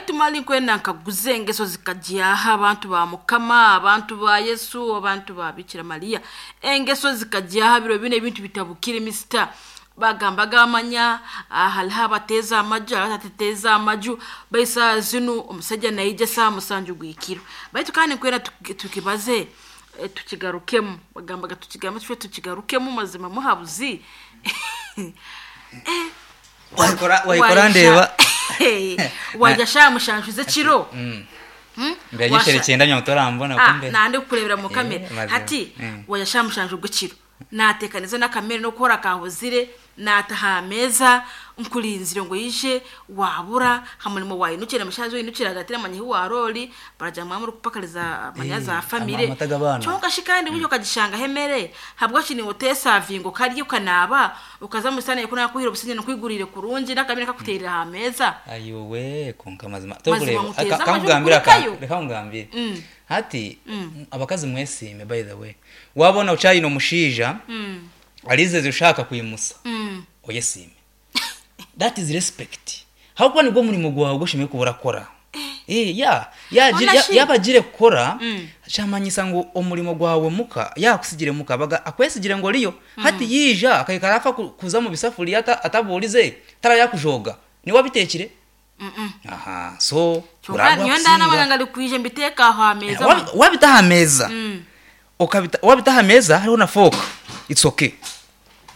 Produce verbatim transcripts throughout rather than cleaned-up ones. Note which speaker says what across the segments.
Speaker 1: Baitu mali nkwenda nkaguze engeso zikagyaha abantu ba Mukama, abantu ba Yesu, abantu ba Bikira Mariya. Engeso zikagyaha biro bino ebintu bitabukire misita. Bagambaga amanya, ah, hariho abateeza amaju, hariho abatateza amaju, baitu zinu omusajja naija saaha musanju gwikiro. Baitu kandi nkwenda tuki- tukibaze eh, tukigarukemu, bagambaga tukigambe tufe tukigarukemu mazima muhabuzi. Eh,
Speaker 2: Wayikora wayikora ndeba.
Speaker 1: Wajya sha mushanju z'ekiro.
Speaker 2: Mm.
Speaker 1: Hmm?
Speaker 2: Mbere
Speaker 1: Washa-
Speaker 2: nyeshere cyenda nyamutorambona
Speaker 1: Ah,
Speaker 2: kumbe.
Speaker 1: nande kukurebera mu kamera.
Speaker 2: Eh, mazima.
Speaker 1: Hati
Speaker 2: Mm.
Speaker 1: wajya sha mushanju gw'ekiro. Natekaniza n'akamere no kukora kahuzire, nataha ameza nkulinzire ngo yije wabura hamulimo wayinukira mushazi winukira agatira manyi waroli baraja mwamuri kupakaliza manya
Speaker 2: Eh,
Speaker 1: za famire
Speaker 2: amata g'abaana.
Speaker 1: Kyonka shi kandi buryo ukagishanga hemere habwo kini otesavingo karyo ukanaba ukaza musana yakuna kuhira obusinye nokwigurire kurungi n'akamere kakuterera ha meza.
Speaker 2: Ayowe konka mazima.
Speaker 1: Mazima
Speaker 2: Tokureba.
Speaker 1: nguteza amaju
Speaker 2: Kamugambira ka.
Speaker 1: kurikayo.
Speaker 2: Reka mugambire.
Speaker 1: Mm.
Speaker 2: Hati abakazi mwesime by the way. Wabona uchayino mushija
Speaker 1: Mm.
Speaker 2: alizeze ushaka kuyimusa.
Speaker 1: Mm.
Speaker 2: Oyesime. That is respect. Hakuba nibwo murimo gwawe gushimiye kubura kora. Eh ya ya
Speaker 1: Ona
Speaker 2: ya-
Speaker 1: shi.
Speaker 2: yabagire kukora
Speaker 1: Mm.
Speaker 2: kyamanyisa ngu omurimo gwawe muka yakusigire muka baga akwesigire ngo riyo hati yija akaikara afa ku- kuza mu bisafuriya ata- atabuurize tara yakujoga niwe wabitekire.
Speaker 1: Mm.
Speaker 2: Aha, so
Speaker 1: Kyonka
Speaker 2: uragwa
Speaker 1: niyo ndana
Speaker 2: kusinga.
Speaker 1: abaganga likwije mbiteka aho ameza.
Speaker 2: Wabi- wabita aha meza,
Speaker 1: Mm.
Speaker 2: ukabita wabita aha meza hariho na fork, it's okay,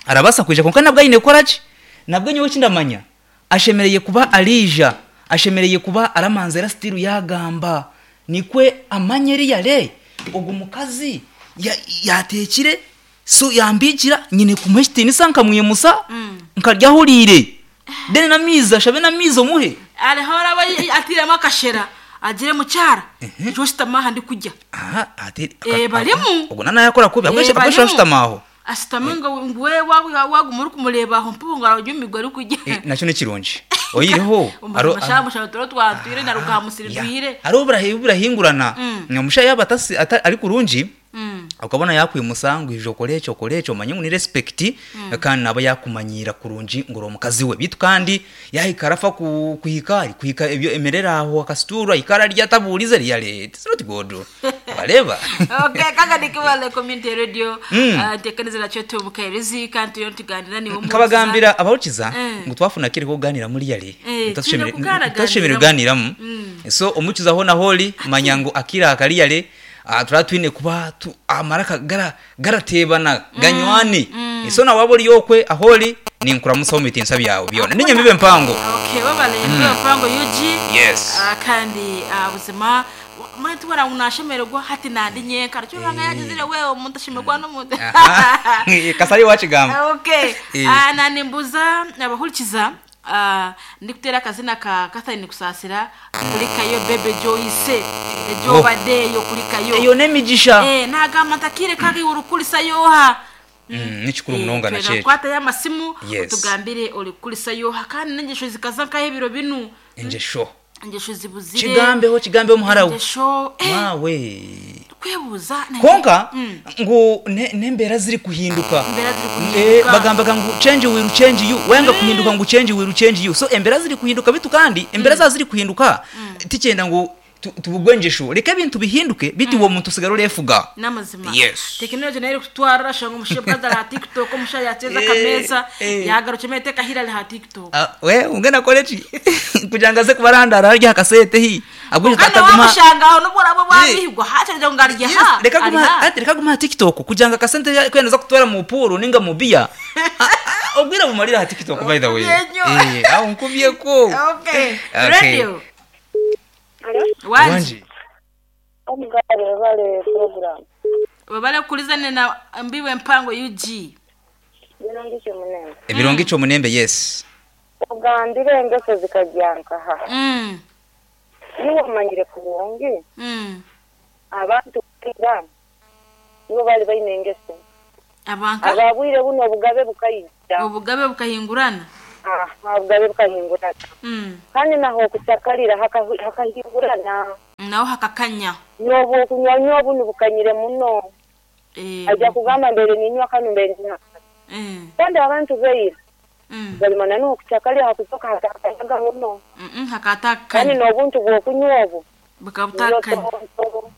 Speaker 2: arabasa kwija, konka nabwo ayine kukora ki nabwo nyowe kindamanya ashemereye kuba arija, ashemereye kuba aramanza era still yagamba nikwe amanye riyare ogu mukazi ya- yatekire so yambikira nyine kumuha ekitinisa nkamwimusa
Speaker 1: Mm.
Speaker 2: nkaryahuriire then namizi ashabe namizi omuhe.
Speaker 1: Ariho araba atiramo akashera agire mukyara jositama ndi kujya.
Speaker 2: Aha, ati
Speaker 1: Eh, barimu.
Speaker 2: Ogwo nanayakora kubi
Speaker 1: Eh,
Speaker 2: abwo
Speaker 1: barimu.
Speaker 2: ashutama aho.
Speaker 1: Asitame ngo ngwe waguma uri kumureba aho mpubu ngo arajya umigwa ari kujya.
Speaker 2: Eh, nakyo ni kirungi oyireho.
Speaker 1: Umushamusha turo twatwire na rukamusiri rwire.
Speaker 2: Hariho burahi- burahingurana.
Speaker 1: Mm.
Speaker 2: Omushaija yaba atasi- ata- ari kurungi
Speaker 1: Mm.
Speaker 2: ukabona yakwimusa ngu ije okore ekyo okore ekyo omanye ngu ni respect, kandi naba yakumanyira kurungi ngu ori omukazi we, bitu kandi yahikara afa ku- kuhika ari kuhika ebyo emerere aho akasitura ikara arya atabuurize riyare, it's not good, bareba.
Speaker 1: Okay, kaka nikibale community radio.
Speaker 2: Mm.
Speaker 1: Ah, ntekaniriza nakyo tumukairizi kandi turiyo tuganira niwe muhuza.
Speaker 2: Nkabagambira abahukiza
Speaker 1: Eh.
Speaker 2: ngu twafuna kiri kuganira muri yari
Speaker 1: Eh, twine kuganira
Speaker 2: tutashemerere kuganiramu.
Speaker 1: Mm.
Speaker 2: So omukiza hona holi manya ngu akira akariyare turaba twine kuba tu- amaraka gara garatebana ganywane. So nawe waba ori okwe aholi ninkuramusaho mu bitinsa byawe byona ninyamibe mpango.
Speaker 1: Okay, babale mm. mpango U G.
Speaker 2: Yes.
Speaker 1: Ah, kandi ah, buzima mwe tubona unashemererwa hati nandi nyenka cyo banga yagizire wewe omuntu ashemerwa n'omuntu.
Speaker 2: Aha. Kasari wachigamba.
Speaker 1: Okay.
Speaker 2: Eh.
Speaker 1: Ah, nanimbuza abahurikiza, ah, ndikutera akazina ka Catherine Kusasira kulikayo Bebe Joyce ejo
Speaker 2: Oh.
Speaker 1: badeyo kulikayo.
Speaker 2: Eyo n'emigisha.
Speaker 1: Eh, nagamba ntakire kagi urukulisa yoha.
Speaker 2: Mm, nikikuru munonga
Speaker 1: Eh,
Speaker 2: nakyo.
Speaker 1: kwata y'amasimu
Speaker 2: Yes.
Speaker 1: utugambire uri kulisa yoha kandi n'ingesho zikaza nkaho ebiro binu.
Speaker 2: Engesho.
Speaker 1: Ingesho zibuzire.
Speaker 2: Kigambeho, kigambeho muhara we.
Speaker 1: Ingesho eh,
Speaker 2: Mawe.
Speaker 1: kwebuza na-
Speaker 2: Konka
Speaker 1: Mm.
Speaker 2: ngu ne- n'embeera ziri kuhinduka.
Speaker 1: Embeera ziri kuhinduka.
Speaker 2: Eh, bagambaga ngu change will change you, wenga kuhinduka ngu change will change you, so embeera ziri kuhinduka, bitu kandi embeera za ziri kuhinduka tikyenda ngu tu- tubugwe engesho, reka ebintu bihinduke biti uwo muntu usigara urefuga.
Speaker 1: N'amazima.
Speaker 2: Yes.
Speaker 1: Tekinoloji nayo iri kutwara ashanga omushaija ari ha TikTok, omushaija yateza
Speaker 2: Eh,
Speaker 1: akameza
Speaker 2: eh.
Speaker 1: yagarukye eteka hira ari ha TikTok.
Speaker 2: Ah, we ungena koleji kugira ngo aze kubarandara harya akasete hi abwo.
Speaker 1: Kandi wamushanga aho nubwo uraba wabihigwa hakirya ngo arya ha.
Speaker 2: Reka
Speaker 1: ari
Speaker 2: guma
Speaker 1: ha.
Speaker 2: ati reka guma ha TikTok kugira ngo akasente kwenda kutwara mu puru ninga mu biya. Ah, ah, ubwira bumarira ha TikTok by the way.
Speaker 1: Nkubye nyo.
Speaker 2: Eh, aho nkubye ko.
Speaker 1: Okay.
Speaker 2: Okay.
Speaker 1: Radio.
Speaker 3: Alo?
Speaker 1: Wanji.
Speaker 2: Wanji.
Speaker 3: Omugare bale program.
Speaker 1: Babale kulizane na mbiwe mpango U G.
Speaker 3: Birungi munembe.
Speaker 2: Ebirungi cyo munembe, yes.
Speaker 3: Ogambire engeso zikajyankaha.
Speaker 1: Mm.
Speaker 3: Niwe omanyire kurungi
Speaker 1: Mm.
Speaker 3: abantu kira nibo bali baine engeso.
Speaker 1: Abanka.
Speaker 3: Ababwire buno obugabe bukayija.
Speaker 1: Obugabe bukahingurana.
Speaker 3: Aha, obugabe bukahingurana.
Speaker 1: Mm.
Speaker 3: Kandi naho okutakalira haka- hakahingurana.
Speaker 1: Naho hakakanya.
Speaker 3: Nobu okunywa buno bukanyire muno.
Speaker 1: Eh.
Speaker 3: Ajja kugamba mbere ninywa kano mbere ninywa kano.
Speaker 1: Eh.
Speaker 3: Kandi abantu beira
Speaker 1: Mm.
Speaker 3: Galimana n'okucakali hakuzoka hatakanyaga muno.
Speaker 1: Mm,
Speaker 3: Kandi
Speaker 1: hakatakanya
Speaker 3: n'obuntu bw'okunywa obu
Speaker 1: bukabutakanya.
Speaker 3: tonto,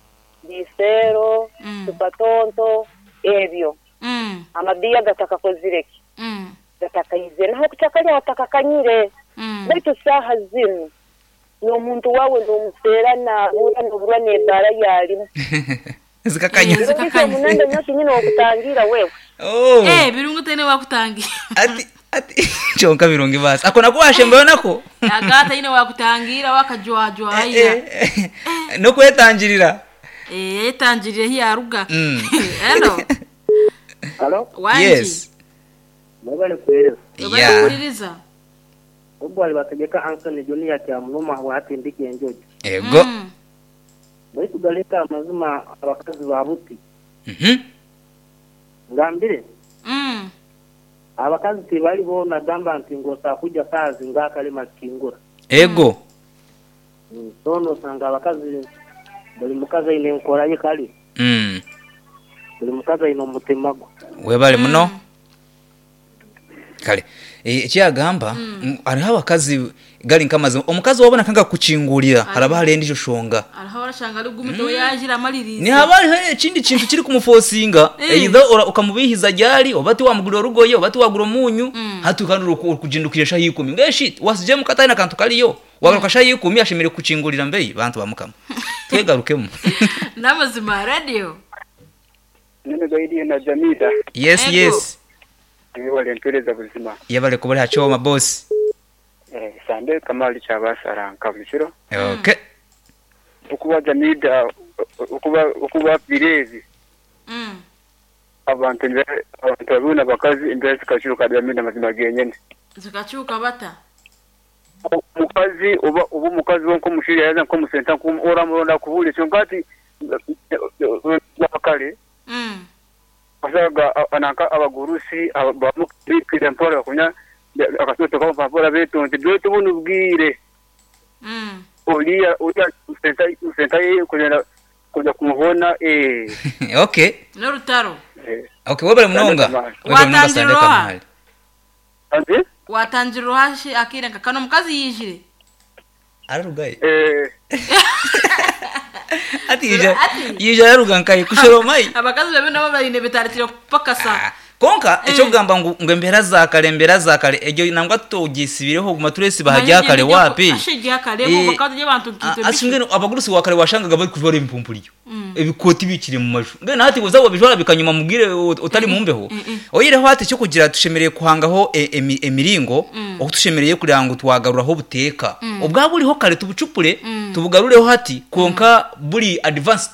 Speaker 3: bisero,
Speaker 1: Mm.
Speaker 3: supatonto ebyo
Speaker 1: Mm.
Speaker 3: amabiya gatakakozireki
Speaker 1: Mm.
Speaker 3: gatakaizire naho kucakali hatakakanyire.
Speaker 1: Mm.
Speaker 3: Baitu saaha zinu n'omuntu wawe n'omuseera naabura n'oburwa n'ebbaara yalimu.
Speaker 2: Zikakanya.
Speaker 1: Mm. Zikakanya.
Speaker 3: Omunanda nyoki nyine okutangira wewe.
Speaker 2: Oh.
Speaker 1: Eh, birungu tene wakutangira.
Speaker 2: Ati ati kyonka birungi basi ako nako washembayo nako.
Speaker 1: Agata ine wakutangira wakajwajwaya.
Speaker 2: Eh, eh, nokwetangirira.
Speaker 1: Eh, yetangirire hiyaruga.
Speaker 2: Mm.
Speaker 1: Hello.
Speaker 4: Halo,
Speaker 1: Wanji.
Speaker 2: Yes.
Speaker 4: mwebale kuhereza.
Speaker 2: Yeah.
Speaker 1: Kuwuliriza.
Speaker 4: Ogwo ali bategeka Anthony Junior kya muluma watindika enjojo.
Speaker 2: Ego.
Speaker 1: Mm.
Speaker 4: Baitu galeta amazima abakazi ba buti.
Speaker 2: Mhm.
Speaker 4: Ngambire
Speaker 1: Mm.
Speaker 4: abakazi tibali bona gamba nti ngosa kuja kazi ngakalima kingura.
Speaker 2: Ego.
Speaker 4: Mm, Sono osanga abakazi buli mukazi aine enkora ye kali,
Speaker 2: Mm.
Speaker 4: buli mukazi aine omutima gwe.
Speaker 2: Webale muno. Kale eh, ekyagamba mm. hariho abakazi gali nk'amazima omukazi wabona kanga kukingurira haraba hari endijo shonga
Speaker 1: Ariho arashanga ari gumito yajira amaliriza.
Speaker 2: ni haba hariho ekindi kintu kiri kumufosinga
Speaker 1: Mm.
Speaker 2: either ora- ukamubihiza ryari oba tiwamugurira orugoye oba tiwagura omunyu
Speaker 1: Mm.
Speaker 2: hati kandi orikugindukira shaha ikumi ngeshi wasije mukataine akantu kariyo wagaruka shaha ikumi ashemereire kukingurira mbeyi bantu bamukama twegarukemu.
Speaker 1: N'amazima radio.
Speaker 5: Nene zaidi na Jamida
Speaker 2: Yes.
Speaker 1: Ego.
Speaker 2: Yes.
Speaker 5: niwe mpereza buzima.
Speaker 2: Yabale kubali hachoma boss.
Speaker 5: Eh, sande kamali kyabasara nkabukiro
Speaker 2: Okay.
Speaker 5: okuba Jamida okuba okuba birezi
Speaker 1: Mm.
Speaker 5: abantu embe- abantu babona abakazi embera zikakyuka Jamida mazima genyene.
Speaker 1: Zikakyuka bata.
Speaker 5: Omukazi oba oba omukazi wo nkomushiri yaza nkomusenta oramulonda kubuli kyonka ati bakale
Speaker 1: Mm.
Speaker 5: wasaga ananka abagurusi bamukira mpola kunya akasoto kampora betonte dwetu bunu bwire.
Speaker 1: Mm.
Speaker 5: Oliya oliya senta senta ye kugenda kujya kumuhona eh.
Speaker 2: Okay.
Speaker 1: N'orutaro.
Speaker 5: Eh.
Speaker 2: Okay, webale munonga.
Speaker 5: Webale
Speaker 2: Webale munonga
Speaker 1: Watangira
Speaker 2: sande
Speaker 1: oha?
Speaker 2: kamali.
Speaker 5: Anze
Speaker 1: Watangira ohashi akira nka kano mukazi yijire.
Speaker 2: Ararugaye.
Speaker 5: eh
Speaker 2: Ati yija
Speaker 1: Ati.
Speaker 2: yija araruga nkaye kushoromai.
Speaker 1: Abakazi babe nabo barine betaritira kupakasa.
Speaker 2: Ah, konka ekyokugamba ngu ngu embeera za kare embeera za kare egyo nangwa tugisibireho guma turesiba hajya kare wapi.
Speaker 1: Ashijya kare
Speaker 2: Eh,
Speaker 1: bo bakazi y'abantu nkitwe.
Speaker 2: Ah, asi mbwenu abagurusi wa kare washangaga bari kujwara ebimpumpuriyo ebikoti bikiri mu maju mbwenu hati uza wabijwara bikanyuma mubwire ut- utari mu mbeho oyireho hati icyo kugira tushemereye kuhangaho e- emi- emiringo oku tushemereye kugira ngo twagaruraho obuteeka obwa buriho kare tubucupure tubugarureho hati konka buri advanced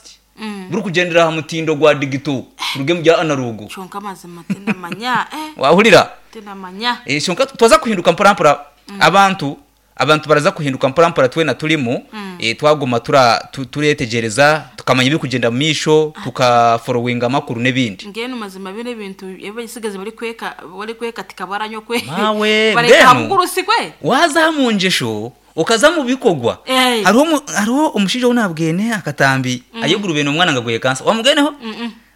Speaker 2: buri kugendera aha mutindo gwa digito turuge mu bya analogo.
Speaker 1: Chonka amazima tendamanya eh
Speaker 2: Wahurira.
Speaker 1: tendamanya.
Speaker 2: Eh, shonka twaza kuhinduka mpora mpora abantu abantu baraza kuhinduka mpora mpora twena turimo eh, twaguma tura tu- turetegereza tukamanya ibiri kugenda mu misho tukaforowinga amakuru n'ebindi.
Speaker 1: Ngeno mazima bine bintu ebisigazi bari kweka bari kweka tikabaranyo kwe.
Speaker 2: Mawe,
Speaker 1: Bareka
Speaker 2: mbwenu.
Speaker 1: habugurusi kwe.
Speaker 2: Waza mu njesho ukaza mu bikogwa.
Speaker 1: Eh.
Speaker 2: Hariho umu- hariho omushaija ou nabwene akatambi ayegurubene omwana ngagweye kansa wamugeneho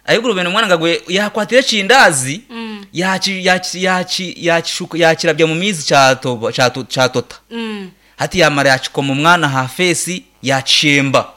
Speaker 2: ayegurubene omwana ngagweye yakwatira ekindazi yaki yaki yaki yakishuka yakirabya mu mizi kyatoba kyato- kyatota.
Speaker 1: Mm.
Speaker 2: Hati yamara yakikoma omwana ha fesi yakishemba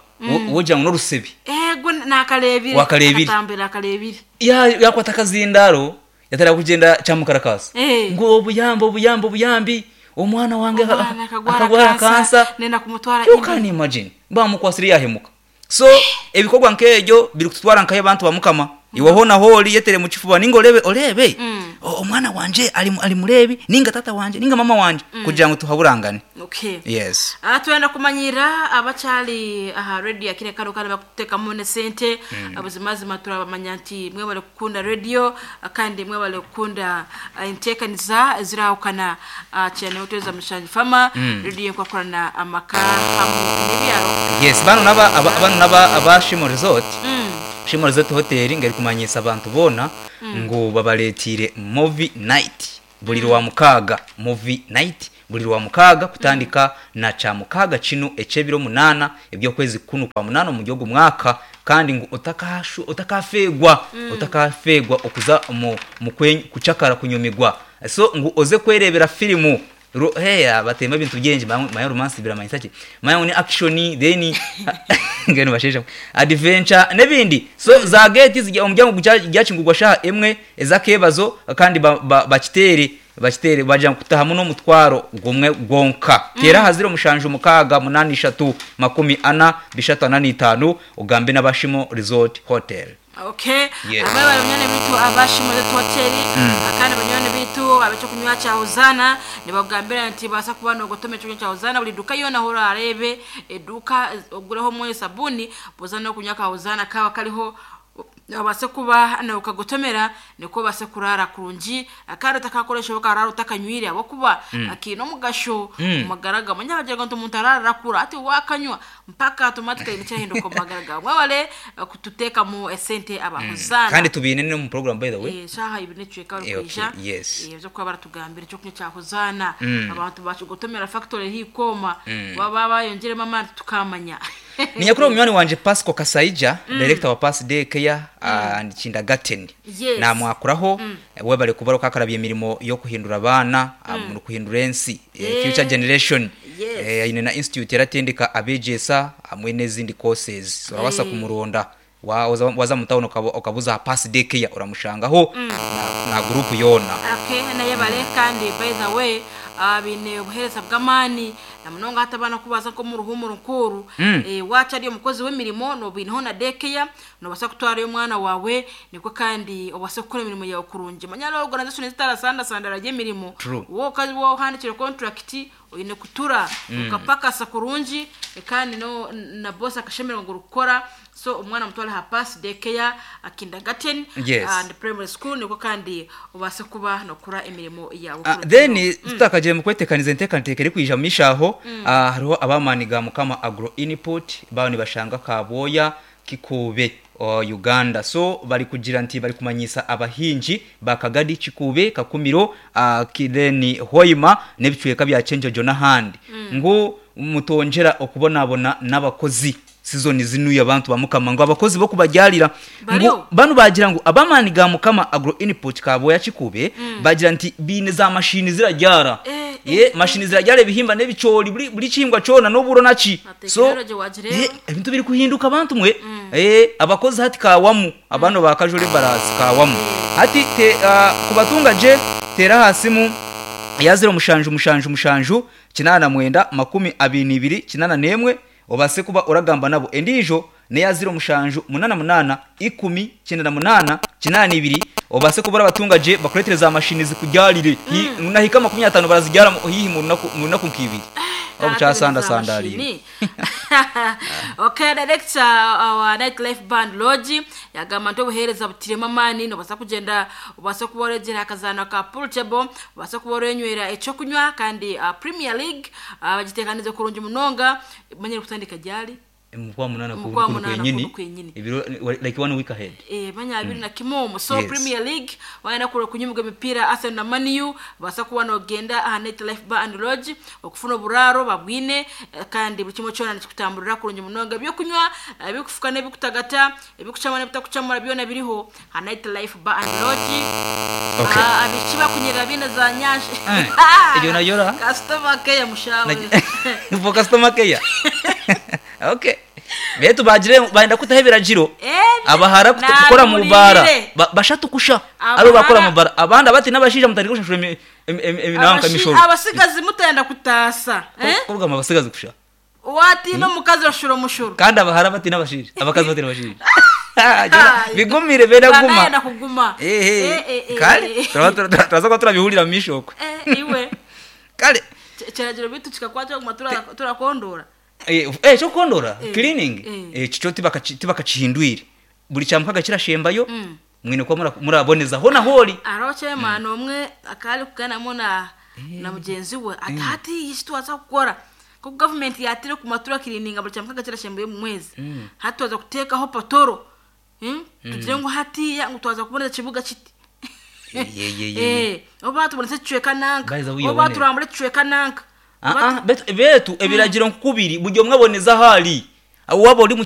Speaker 2: wogira ngo n'orusebi.
Speaker 1: Ego nakarebire.
Speaker 2: Wakarebire.
Speaker 1: Akatambira akarebire.
Speaker 2: Ya- yakwata akazindaro yatara kugenda kyamukarakasa
Speaker 1: Eh.
Speaker 2: ngo obuyambi obuyambi obuyambi omwana wange
Speaker 1: Omwana akagwara
Speaker 2: akagwara
Speaker 1: kansa,
Speaker 2: kansa
Speaker 1: nenda kumutwara
Speaker 2: You
Speaker 1: indi.
Speaker 2: can imagine bamukwasire yahemuka so ebikorwa nk'ebyo biri kututwara nkayo abantu bamukama iweho naho ori yetere mu kifuba ninga orebe orebe
Speaker 1: Mm.
Speaker 2: o- omwana wanje ari mu- ari murebi ninga tata wanje ninga mama wanje kugira ngo tuhaburangane.
Speaker 1: Okay.
Speaker 2: Yes.
Speaker 1: Ah, twenda kumanyira abakyali aha radio akire kano kandi bakutekamu ne sente abuzimazima turabamanya nti mwebale kukunda radio ah, kandi mwebale kukunda ah, enteekaniza ezirahukana ah, cyane uteza mushangi fama radio nkwakorana amaka hamwe n'ebyaro.
Speaker 2: Yes, bano naba aba- bano naba aba Shimo Resort.
Speaker 1: Mm.
Speaker 2: Shimo Resort Hotel ngari kumanyisa abantu bona ngo babaletire movie night buli lwa mukaga movie night buli lwa mukaga kutandika na cha mukaga kino ekyebiro munana ebyokwezi kunu kwa munana mu gihugu mwaka kandi ngo utakashu utakafegwa utakafegwa okuza mu, mu kwen- kuchakara kunyumigwa So ngu oze kwerebera filimu Ro- heya batemba ebintu byingi manya romance biramanyisa ki, manya ngu ni action, then ngeno basheja adventure n'ebindi. So za gate zijya omuryango gyakingurwa shaha emwe ezakebazo, kandi ba- ba- bakitere bakitere baja kutahamu n'omutwaro gumwe gwonka. Tera haziro mushanju mukaga munani ishatu makumi ana bishatu ana n'itanu, ugambe n'abashimo Resort Hotel.
Speaker 1: Okay.
Speaker 2: Yes.
Speaker 1: Abaye banywani bitu abashimo hoteli, kandi banywani bitu abekyo kunywa kya Hozana nibagambira nti basa kuba nogotoma ekyo kya Hozana buli duka yona hora arebe eduka ogureho mwe sabuni bozana kunywa ka Hozana kaba kariho, obase kuba nokagotomera niko base kurara kurungi, akandi utakakoresha ukarara utakanywire abokuba akina omugasho mumagara gamwe. Nyabagira ngo umuntu arara arakura ati wakanywa mpaka automatically nicyahinduka mu magara gawe. Mwabale kututeka mu esente abahozana.
Speaker 2: Kandi tubine no mu program, by the way.
Speaker 1: Eh, shaha ibi nicweka
Speaker 2: Eh, okay,
Speaker 1: rukwija
Speaker 2: yes.
Speaker 1: eh, byo kuba baratugambira icyo kunywa cya Hozana, abantu bacugotomera factory hikoma baba bayongeremo amandi tukamanya.
Speaker 2: Ni nyakuri munywani wanje Pasco Kasaija, director wa Pass Day Care and Kindergarten.
Speaker 1: Yes.
Speaker 2: Namwakuraho webale kubara kakarabye emirimo yo kuhindura abaana, mu kuhindura ensi, eh,
Speaker 1: Yeah.
Speaker 2: future generation.
Speaker 1: Yes.
Speaker 2: Eh, aine na institute yaratendeka abegyesa hamwe n'ezindi courses. So urabasa
Speaker 1: Eh.
Speaker 2: kumuronda. Wa- waza waza mu town ukaba- ukabuza Pass Day Care, uramushangaho na, na group yona.
Speaker 1: Okay, naye bale kandi by the way, ah, bine obuhereza bw'amaani na munonga hati abaana kubaza nko mu ruhumuro nkuru, eh, waca ari omukozi w'emirimo nobineho na dekeya nobasa kutwarayo omwana wawe, nikwo kandi obase kukora emirimo yawe kurungi. Manya hariho organization zitarasandasandara ry'emirimo.
Speaker 2: True.
Speaker 1: Wowe wohandikire contract oyine kutura ukapakasa kurungi, eh, kandi no na boss akashemererwa ngu orikukora. So omwana mutware aha Pass Daycare Kindergarten
Speaker 2: Yes.
Speaker 1: and primary school, niko kandi ubase kuba nokora emirimo yawe
Speaker 2: Ah,
Speaker 1: kurungi.
Speaker 2: then tutakagiye mu kwetekaniza enteekateeka erikwija mishaho, ah, hariho abamani ga Mukama Agro Input bawo nibashanga Kabwoya Kikube, uh, Uganda. So bari kugira nti bari kumanyisa abahingi bakagadi Kikube, Kakumiro, uh, kireni Hoima n'ebicweka bya Chenjojo n'ahandi, ngu mutongera okubonabona n'abakozi sizoni zinuye. Abantu bamukama ngo abakozi bo kubagyarira ngo
Speaker 1: Bariho.
Speaker 2: bano bagira ngo abamani ga Mukama Agro Input Kaboya Kikube bagira nti bine za mashini ziragyara.
Speaker 1: Eh,
Speaker 2: ye mashini ziragyara ebihimba n'ebicori, buri buri kihingwa cona n'oburo naki.
Speaker 1: Na
Speaker 2: So
Speaker 1: technology wagira rero.
Speaker 2: eh, ebintu biri kuhinduka abantu mwe. eh abakozi hati kawamu abano bakajore barasi kawamu hati te, uh, kubatunga je tera hasimu ya zero mushanju mushanju mushanju kinana mwenda makumi abiri n'ibiri kinana nemwe, obase kuba uragamba nabo. Endijo neya zero mushanju munana munana ikumi cyenda na munana kinana ibiri, obase kuba abatunga je bakuretere za mashini zikugyarire. mm. Nahika makumi atano barazigyara mu- hihi mu runaku mu runaku nk'ibiri obukyasanda sandalire.
Speaker 1: Okay, director wa Nightlife Band Lodge yagamba nti obuheereza butiremu amaani, nobasa kugenda obase kuba oregera akazaano ka pool table, obase kuba orenywera ekyokunywa, kandi uh, Premier League uh, bagitekanize kurungi munonga. Manyire kutandika ryari?
Speaker 2: Mukwa munana.
Speaker 1: Mu kwa
Speaker 2: ku
Speaker 1: munana
Speaker 2: kwenyini.
Speaker 1: kuno kwenyini.
Speaker 2: Ibiro like one week ahead.
Speaker 1: Eh, manya abiri na kimomo. So
Speaker 2: Yes.
Speaker 1: Premier League waenda kure kunyumga emipira Arsenal na Man U, basa kuba nogenda aha Nightlife Bar and Lodge okufuna oburaro babwine, eh, kandi buri kimwe kyona nikikutamburira kurungi munonga, ebyokunywa, eh, ebikufuka n'ebikutagata, ebikucamura n'ebitakucamura byona biriho aha Nightlife Bar and Lodge.
Speaker 2: Okay.
Speaker 1: Ah, abiki bakunyerera bine za nyanje.
Speaker 2: Eh, egyo nayo ra?
Speaker 1: Customer care mushawe.
Speaker 2: For customer care, okay. Betu bagire baenda kutaho ebiragiro.
Speaker 1: Eh,
Speaker 2: Abahara kut- kukora mu bara
Speaker 1: nabulire.
Speaker 2: Ba- bashatu kusha
Speaker 1: Abahara-
Speaker 2: abo bakora mu bara, abandi abati n'abashija mutari kushashura emi- emi- emi- eminanka
Speaker 1: Abashi-
Speaker 2: emishoro.
Speaker 1: Abasigazi mutenda kutasa, eh?
Speaker 2: Kugamba abasigazi kusha.
Speaker 1: Watina omukazi bashura omushuro.
Speaker 2: Kandi abahara bati n'abashija, abakazi bati n'abashija. Bigumire benda guma.
Speaker 1: Banayenda kuguma.
Speaker 2: Ehe.
Speaker 1: Eh, eh, eh,
Speaker 2: Kale
Speaker 1: eh.
Speaker 2: turaba- turaba- turaza kuba turabihurira mu mishoko.
Speaker 1: Eh, iwe
Speaker 2: Kale
Speaker 1: Ch- kiragiro bitu kikakwata kuguma tura- turakondora.
Speaker 2: Eh, eh cyo kondora
Speaker 1: Eh,
Speaker 2: cleaning.
Speaker 1: eh.
Speaker 2: Eh cyo tibaka tibakacihindwire buri cyamukaga kirashembayo, mwine kuba mura- muraboneza ho na hori.
Speaker 1: Hariho chairman omwe akari kuganamo na na mugenzi we ati hati ishi twaza kukora ko government yatire kuma turakirininga buri cyamukaga kirashembayo mu mwezi, hati twaza kutekaho patoro. Hmm? Tugire ngo hatiya ngo twaza kuboneza ikibuga kiti.
Speaker 2: Ye, ye, ye, ye.
Speaker 1: Eh, oba tubonetse kicweka nanka,
Speaker 2: By the way,
Speaker 1: oba
Speaker 2: yaboneye.
Speaker 1: turambure kicweka nanka.
Speaker 2: Ah, ah, betu betu ebiragiro nkubiri buri umwe aboneza ahari waba uri mu